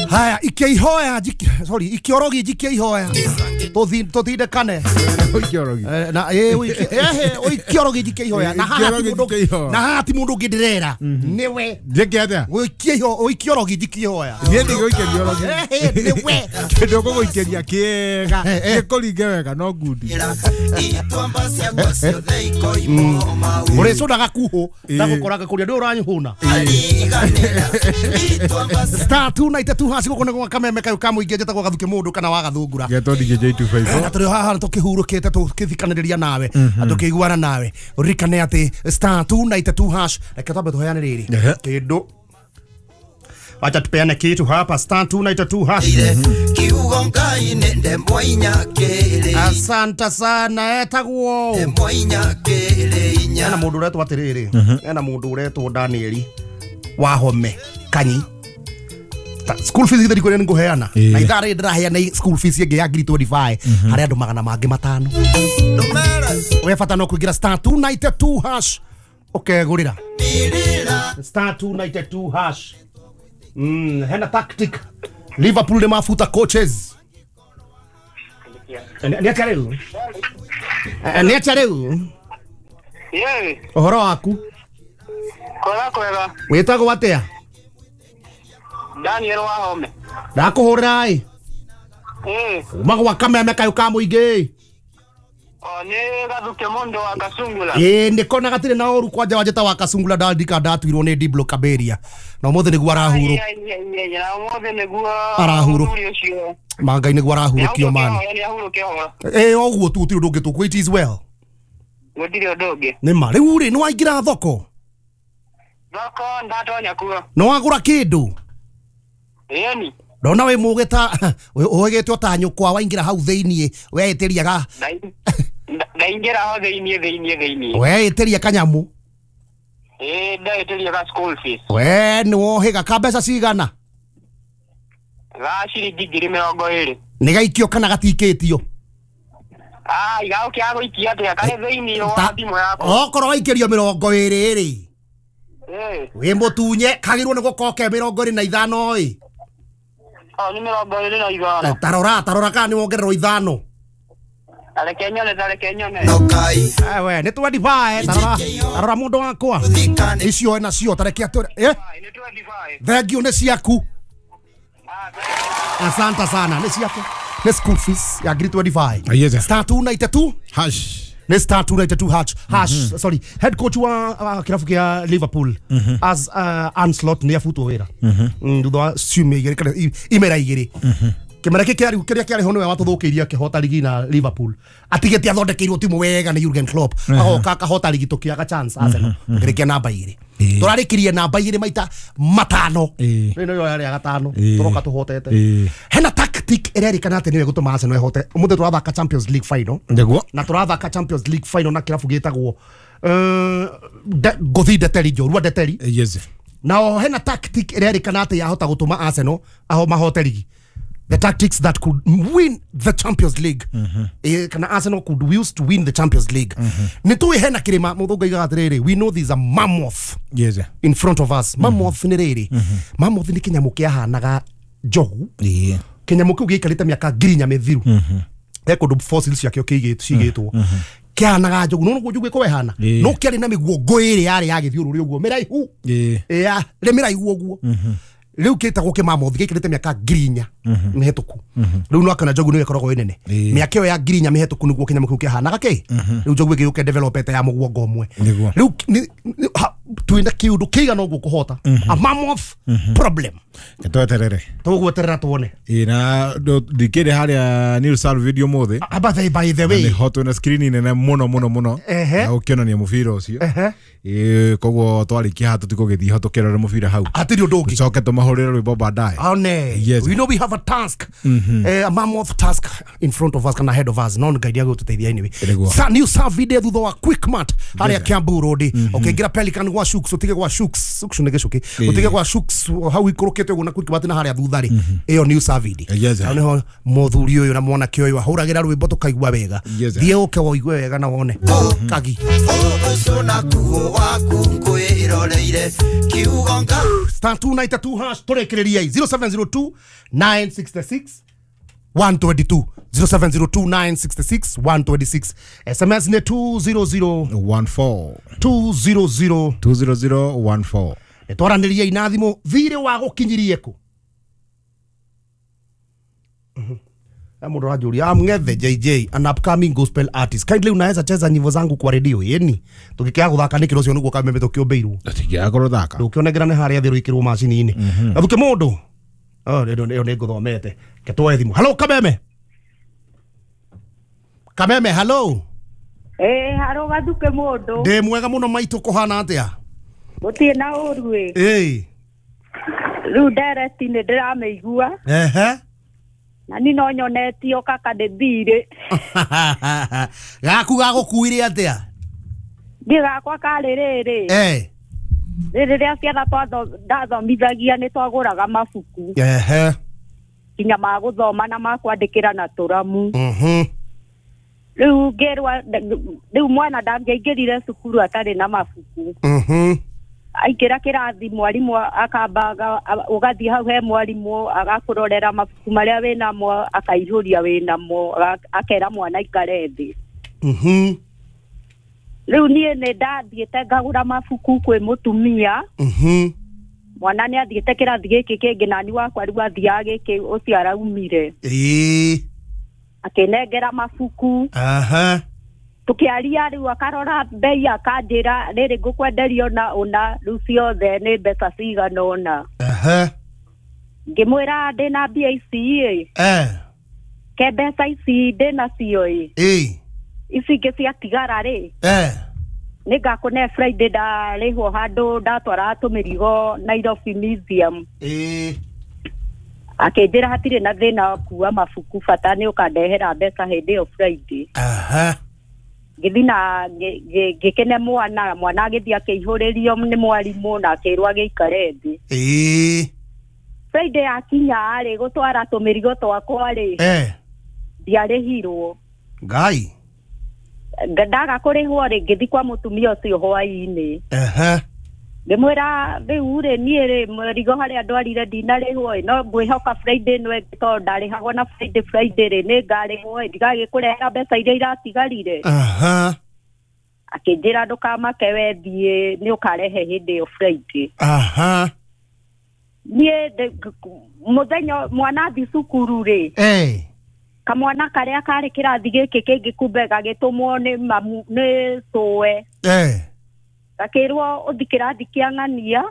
Haya ikiihoya sorry ikiorogi jikiihoya tuthindekane ikiorogi na ikiorogi jikiihoya na haha ti mundu ngindirera niwe njike atia ikiorogi jikiihoya nie ndigũikĩria niwe kindu ngũgũikĩria kĩega gĩkũringe wega no ngundi ũrĩcũnaga kuhũ ndagũkoraga kũrĩa ndĩ ũranyũhũna star 292 hash gũkũ nĩ gwa kameme kayũ ka mũingĩ njĩtagwo Gathuke mũndũ kana wa Gathungura getwo DJ 254 na tũrĩ haha tũkĩhurũkĩte tũkĩthikanĩrĩria nawe na tũkĩiguana nawe ũririkane atĩ star 292 hash reke twambe tũheane rĩrĩ kĩndũ wacha tupeane kitu hapa star 292 hash. Asante sana etagwo ena mundu uretwo atiriri ena mundu uretwo Danieli Wahome Kanyi. School fees githeri kuria nguheana na ithaa rĩrĩ ndĩraheana school fees ĩngĩ ya 25 harĩ andũ magana mangĩ matano. We bata no kũingĩra star 292 hash ũkegũrĩra star 292 hash. Hena tactic Liverpool nĩ mabuta coaches. Nĩ atĩa rĩu? Nĩ atĩa rĩu? Ũhoro waku? Kwega kwega. Wĩtagwo atĩa? Daniel Wahome. Ndakũhũrĩra ĩ? Uma gwa kameme kayũ ka mũingĩ. O nĩ Gathuke mũndũ wa Kasungula. Ĩ nĩkona gatirĩ na ũru kwanja wanjĩta wa Kasungula ndandika ndatuirwo nĩ Diblo Kaberia. Na ũmũthĩ nĩguo arahurũ. Na ũmũthĩ nĩguo arahurũ. Mangai nĩguo arahurũkio mani. Ĩ ũguo tu gũtirĩ ũndũ ũngĩ tũkũ it is well. Gũtirĩ ũndũ ũngĩ. Nĩ ma rĩu rĩ nĩ waingĩra thoko? Thoko ndatonya kuo. Nĩ wagũra kĩndũ? Ĩni. Ndona wĩ mũgĩ ta ũgĩtwo ta nyũkwa waingĩra hau thĩiniĩ weĩtĩria ga ndaingĩra ho thĩiniĩ thĩiniĩ thĩiniĩ weĩtĩria kanyamũ. Ĩ ndaĩtĩria ga school fees. We nĩ wohĩga ka mbeca cigana? Ga ciringi 20,000. Nĩ gaikio kana gatikĩtio? Ah, igagũkĩaga gũikia atĩa karĩ thĩiniĩ wa thimũ yakwa. Okorwo waikĩrio 20 rĩ wĩ mũtunye kagĩrĩirwo nĩ gũkorwo ke 25 ĩ. O nĩ 25. Tarora tarora kana nĩ wongererwo 5. Tareke nyone tareke nyone. We nĩ 25 tarora tarora mũndũ wakwa icio ena cio tareke atũ nĩ 25. Thank you nĩ ciaku. Asante sana nĩ ciaku nĩ school fees ya 25 star 292 hash nĩ star 292 hash hash sorry head coach wa kirabu kia Liverpool as Ancelotti nĩ abutwo wĩra thutha wa ciumia igĩrĩ kana imera igĩrĩ kĩmera gĩkĩ kĩarĩ kĩrĩa kĩarĩ ho nĩwe watũthũkĩirie akĩhota ligi na Liverpool atigĩte athondekeirwo timu wega nĩ Jurgen Klopp agoka akahota ligi tũkĩaga chance Arsenal tũkĩrĩkia namba igĩrĩ tũrarĩkirie namba igĩrĩ maita matano rĩu nĩyo yarĩ ya gatano tũroka tũhotete hena tactic ĩrerĩkana atĩ nĩyo ĩgũtũma Arsenal ĩhote ũmũthĩ tũrathaka Champions League final nĩguo na tũrathaka Champions League final na kĩrabu gĩtagwo Gothi Ndeteri Njorua Ndeteri yes na hena tactic ĩrerĩkana atĩ yahota gũtũma Arsenal aho mahote ligi. The tactics that could win the Champions League. Kana Arsenal could use to win the Champions League. Nĩ hena kirima mũthũngũ aigaga atĩrĩrĩ we know there's a mammoth yes in front of us. Mammoth nĩ rĩrĩ mammoth nĩ kĩnyamũ kĩahanaga njogu. Kĩnyamũ kĩu gĩikarĩte mĩaka 4,000 mĩthiru he kũndũ fossils ciakĩo cigĩtwo kĩahanaga njogu no nĩguo njogu ĩkorwo ĩhana no kĩarĩ na mĩguongo ĩrĩ yarĩ ya gĩthiũrũrĩ ũguo mĩraihu rĩ mĩraihu ũguo rĩu kĩtagwo kĩmamothi gĩikarĩte mĩaka 4,000 mĩhetũku rĩu no akana njogu nĩyo ĩkoragwo ĩ nene mĩaka ĩyo ya 4,000 mĩhetũku nĩguo kĩnyamũ kĩu kĩahanaga kĩ rĩu njogu ĩgĩũka developete ya mũguongo ũmwe rĩu twĩna kĩũndũ kĩigana ũguo kũhota a mammoth problem tweterere tũgweterera tuone na ndikĩrĩ harĩa Neil Sal video mũthĩ aba by the way nĩ hot na screen nene mũno mũno mũno na ũkĩonania mũbira ũcio koguo twarĩkia haha tũtigũgĩthiĩ ho tũkĩrore mũbira hau hatirĩ ũndũ ũngĩ tũcoke tũmahũrĩre rwĩmbo baadaye one yes. We know we have a task a mammoth task in front of us kana ahead of us no ngai ndiagũtũteithia anyway sa new sa video thutha wa Quickmart harĩa Kiambu Road ũkĩingĩra Pelican gwa Shooks, utige gwa Shooks, Shooks nĩ gĩcũkĩ, utige gwa Shooks hau ikũrũkĩte ũguo na Quickmart na harĩa thutha rĩ, ĩyo new Savidi. Hau nĩho mũthuri ũyũ na mwanake ũyũ ahũragĩra rwĩmbo tũkaigua wega. Thiĩ ũke woigue wega na wone kagi. Star 292 hash tũrĩkĩrĩria 0702 966 122 0702 966 126. SMS ni 20014 200 20014. Twaranĩria ina thimũ thirĩ wa gũkinyirie kũ? Mũndũ aranjũria, I'm Ngethe JJ, an upcoming gospel artist, kindly unaweza cheza nyimbo zangu kwa radio? Yeni tũgĩkĩaga gũthaka nĩkĩ rũcio nĩguo kameme tũkĩũmbĩirwo tũtingĩaga gũthaka ndũkĩonengera nĩ harĩa thĩ rũikĩrwo macini-inĩ. Gathuke mũndũ ĩyo nĩ ngũthomete ketwoe thimũ. Hello Kameme. Kameme hello. Haro Gathuke mũndũ. Ndĩ mwega mũno maitũ, kũhana atĩa? Gũtirĩ na ũru ĩ. Rĩu ndereti nĩ ndĩramĩigua. Ehe. Na ni no nyonetio kaka ndĩ thirĩ. Gaku gagũkuire atĩa? Thiĩ gakwa karĩ rĩrĩ. Rĩrĩa ciana ndathomithagia nĩ twagũraga mabuku. Ehe. Nginya ma gũthoma na ma kwandĩkĩra na tũramu. Rĩu ngĩrwa rĩu mwana ndangĩaingĩrire cukuru atarĩ na mabuku. Aingĩra kĩrathi mwarimũ akambaga ũgathiĩ hau he mwarimũ agakũrorera mabuku marĩa wĩnamo akaihũria wĩnamo akera mwana aikare thĩ. Rĩu niĩ nĩ ndathiĩte ngagũra mabuku kwĩ mũtumia. Mwana nĩ athiĩte kĩrathi gĩkĩ kĩngĩ nani wakwa rĩu athiaga gĩkĩ ũcio araumire. Akĩnengera mabuku. Tukiaria rĩu akarora mbei akanjĩra rĩrĩ ngũkwenderio na ũna rĩu ciothe nĩ mbeca cigana ũna. Ngĩmwĩra ndĩna mbia ici ĩ. Ke mbeca ici ndĩnacio ĩ. Ici ingĩ ciatigara rĩ. Nĩngakũne Friday ndarĩhwo handũ ndatwara tũmĩrigo Nairobi Museum. Akĩnjĩra hatirĩ na thĩna wa kuua mabuku bata nĩ ũkandehera mbeca hĩndĩ ĩyo Friday. Ngĩthiĩ na ngĩkene mwana, mwana agĩthiĩ akĩihũrĩrio nĩ mwarimũ na akĩrwo agĩikare thĩ. Friday yakinya rĩ gũtwara tũmĩrigo twakwa rĩ, ndiarĩhirwo. Ngai. Ndaga kũrĩhwo rĩ ngĩthiĩ kwa mũtumia ũcio hwaĩ-inĩ. Ngĩmwĩra rĩu rĩ niĩ rĩ mũrigo harĩa ndwarire ndinarĩhwo ĩ, no ngwĩhoka Friday ĩno ĩngĩ tondũ ndarĩhagwo na Friday Friday rĩ nĩngarĩhwo ĩ, ndigagĩkũrehera mbeca iria iratigarire. Akĩnjĩra ndũkamake we thiĩ nĩ ũkarehe hĩndĩ ĩyo Friday. Niĩ mũthenya mwana athiĩ cukuru rĩ, kamwana karĩa karĩ kĩrathi gĩkĩ kĩngĩ kumbe gagĩtũmwo nĩ mamu nĩ cũwe. Gakĩrwo ũthi kĩrathi kĩa ng'ania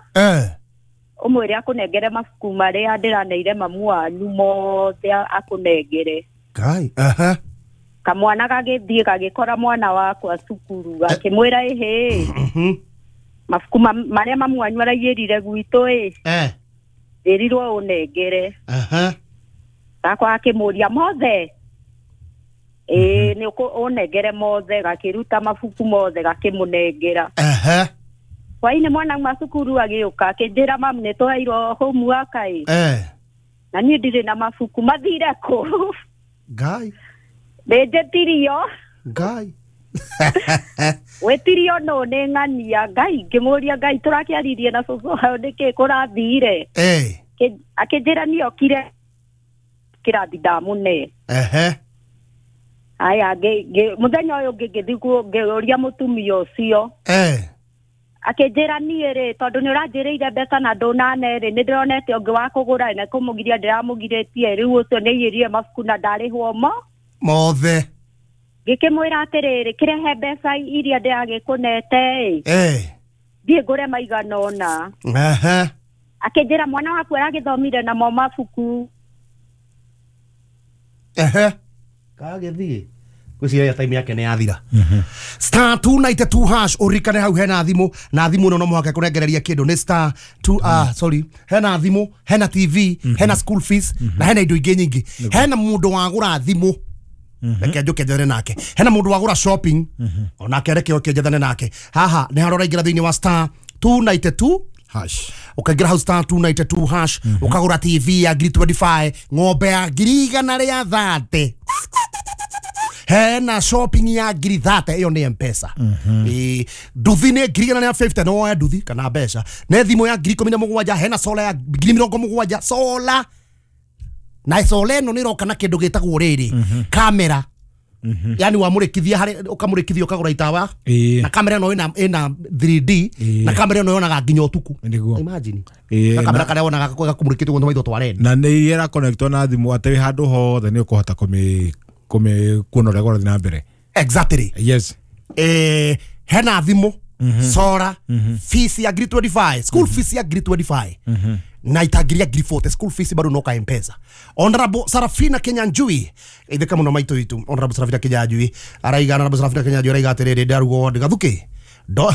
ũmwĩre akũnengere mabuku marĩa ndĩraneire mamu wanyu mothe akũnengere. Ngai. Kamwana gagĩthiĩ gagĩkora mwana wakwa cukuru gakĩmwĩra ĩhĩ mabuku marĩa mamu wanyu araiyĩrire gwitũ ĩ ndĩrirwo ũnengere. Gakwa gakĩmũria mothe? Ĩĩ nĩ ũnengere mothe. Gakĩruta mabuku mothe gakĩmũnengera. Hwaĩ-inĩ mwana auma cukuru agĩũka akĩnjĩra mamu nĩ tũheirwo homework ĩ. Na niĩ ndirĩ na mabuku mathire kũ? Ngai. Nĩnjĩtirio. Ngai. Wĩtirio nũ nĩ ng'ania. Ngai ngĩmũria Ngai tũrakĩaririe na cũcũ hau nĩkĩ kũrathire? Akĩnjĩra niĩ okire kĩrathi ndamũne. Aya mũthenya ũyũ ũngĩ ngĩthiĩ ngĩũria mũtumia ũcio. Akĩnjĩra niĩ rĩ tondũ nĩ ũranjĩrĩire mbeca na ndũnane rĩ nĩ ndĩronete ũngĩ wa kũgũra na kũmũgiria ndĩramũgirĩtie rĩu ũcio nĩ aiyĩrire mabuku na ndarĩhwo mo mothe. Ngĩkĩmwĩra atĩrĩrĩ kĩrehe mbeca iria ndĩragĩkũnete ĩ thiĩ ngũre maigana ũna. Akĩnjĩra mwana waku aragĩthomire namo mabuku. Kagĩthiĩ gwĩciria time yake nĩ yathira. Star 292 hash ũririkane hau hena thimũ na thimũ ĩno no mũhaka kũnengereria kĩndũ nĩ star 2 sorry hena thimũ hena TV hena school fees na hena indo ingĩ nyingĩ. Hena mũndũ wagũra thimũ reke njũke njethane nake, hena mũndũ wagũra shopping onake reke oke njethane nake. Haha nĩ harora ingĩra thĩinĩ wa star 292 hash. Ukaingĩra hau star 292 hash, ũkagũra TV ya ngiri 25, ng'ombe ya ngiri igana rĩa 30, hena shopping ya ngiri 30, ĩyo nĩ M-Pesa. Nduthi nĩ ngiri igana rĩa 50, no woe nduthi kana mbeca. Nĩ thimũ ya ngiri 17, hena sola ya ngiri 70, sola na sola ĩno nĩ ĩroka na kĩndũ gĩtagwo rĩrĩ kamera. Yani wamũrĩkithia harĩ ũkamũrĩkithia ũkagũra itawa na kamera ĩno ĩna 3D na kamera ĩno yonaga nginya ũtukũ. Imagine na kamera karĩa wonaga gakumũrĩkĩte ũguo maitho twarenda na nĩ ĩra connectwo na thimũ atĩ handũ hothe nĩ ũkũhota kũmĩ kuona ũrĩa kũrathiĩ na mbere. Exactly. Yes. Hena thimũ, sora, fees ya ngiri 25, school fees ya ngiri 25 na itagiria ngiri 40, school fees bado noka M-Pesa. Honorable Sarafina Kinyanjui, itheka muno maito itu. Honorable Sarafina Kinyanjui araiga, Honorable Sarafina Kinyanjui araiga atiriri ndarugo ndigathuki do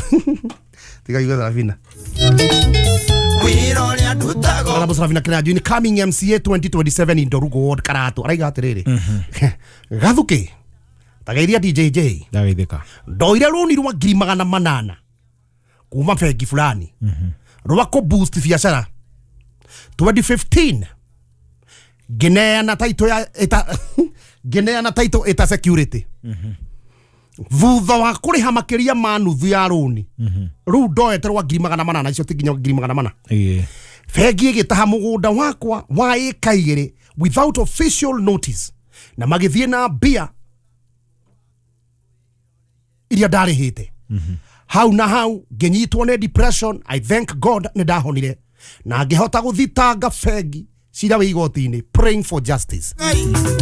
tiga yuga Sarafina. Honorable Sarafina Kinyanjui ni coming MCA 2027 in Ndorugo Ward Karatu araiga atiriri gathuki tagairia DJJ ndagithika ndoire runi rwa ngiri 800 kuma bengi fulani rwa ko boost biacara 2015 ngineana title ya ita ngineana title ita security thutha wa kuriha makiria ma nuthu ya runi riu ndoete rwa ngiri 800 icio ti nginya ngiri 800. Bengi igitaha mugunda wakwa wa ĩka 2 without official notice na magithie na mbia iria ndarĩhĩte. Hau na hau nginyitwo nĩ depression. I thank God nĩ ndahonire na ngĩhota gũthitanga bengi cira wĩ igoti-inĩ, praying for justice.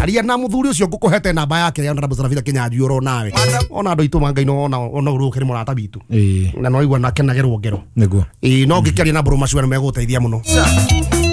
Aria na mũthuri ũcio ngũkũhete namba yake ya Honorable Sarafina Kinyanjui oro nawe ona andũ aitũ mangai no ona ũrũkĩrĩ mũrata witũ na no igua na kenagerwo ngero. Nĩguo. No ngĩkĩaria na Mbũrũ Macua nĩ megũteithia mũno.